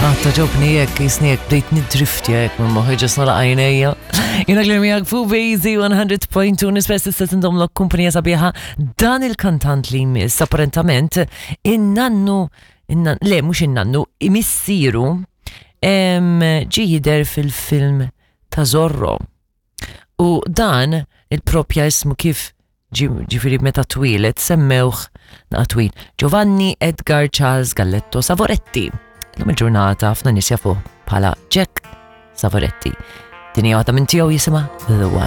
Ah, togħġobni hekk, jisni hekk bdejt nidriftja hekk minn moħħi ġas nagħlaq għajnejja. Jiena Claire miegħek fuq Bazy 100.2 nispera tista' tindomlok kumpanija sabiħa dan il-kantant li jmiss apparentament in-nannu innan, le mhux in-nannu, missieru ġie jidher fil-film ta' Zorro. U dan il-propja ismu kif ġifiri meta twieled semmewh naqa twil Giovanni Edgar Charles Galletto Savoretti. Lum il-ġurnata ħafna nies jafuh bħala Jack Savoretti. Din hija waħda minn tiegħu jisimha The One.